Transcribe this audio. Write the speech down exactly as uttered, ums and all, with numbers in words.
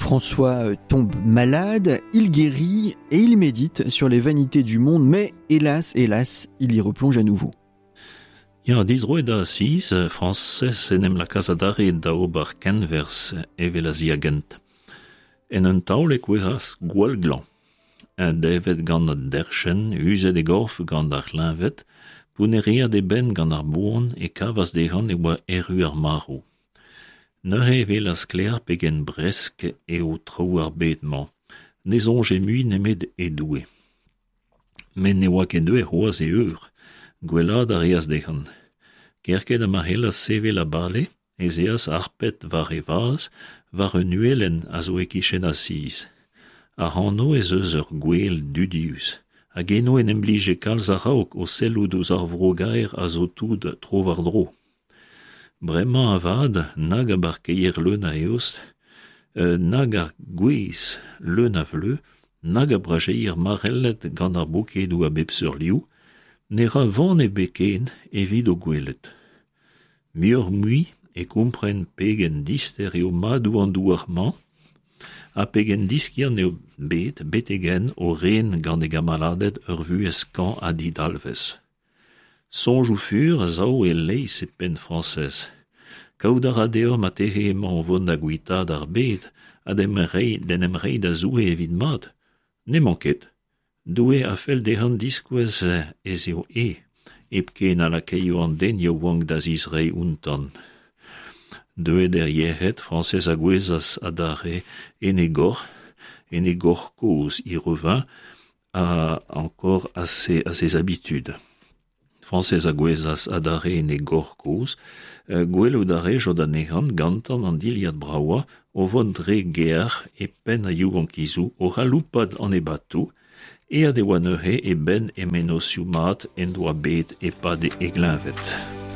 François tombe malade, il guérit et il médite sur les vanités du monde, mais hélas, hélas, il y replonge à nouveau. Ya, dizroet da Asiz, Frañsez en em lakaas adarre da ober kenwerzh evel a-ziagent. En un taol e kouezhas gwall glañv. Un devet gant an derc'henn, uzet e gorf gant ar c'hleñved, pounnereet e benn gant ar boan e kavas dezhañ e oa erru ar marv. Neuze e welas sklaer pegen bresk eo traoù ar bed-mañ. Ne soñje mui nemet e Doue. Met ne oa ket deuet c'hoazh e eur, gwellaat a reas dezhañ. Kerkent ha ma c'hellas sevel ha bale ez eas harpet war e vazh war un uhelenn a zo e-kichen Asiz. Ac'hano ez eus ur gwel dudius, hag eno en em blije kalz a-raok o sellout ouzh ar vro gaer a zo tout tro-war-dro. Bremañ avat nag a barkeier leun a eost, nag ar gwez leun a vleuñv, nag a brajeier marellet gant ar bokedoù a bep seurt liv, ne ra van ebet ken evit o gwelet. Muioc'h-mui e kompren pegen dister eo madoù an douar-mañ ha pegen diskiant eo bet betek-henn o ren gant e gamaladed ur vuhez skañv ha didalvez. Soñjoù fur a sav e-leizh e penn Frañsez. Kaout a ra dezhañ marteze emañ o vont da guitaat ar bed ha d'en em reiñ da Zoue evit mat. N'emañ ket. Doue a fell dezhañ diskouez ez eo eñ hepken a lakaio an den yaouank da zistreiñ outañ. Deuet er yec'hed, Frañsez a gouezhas adarre en e gor, en e gor kozh, il revint à, encore à ses, à ses habitudes. Frañsez a gouezhas adarre en e gor kozh, gwelout a rejod anezhañ gantañ an dilhad bravañ o vont dre gêr e penn ar yaouankizoù o c'haloupat an ebatoù, aet e oa neuze e benn e mennozhioù mat en doa bet e-pad e gleñved.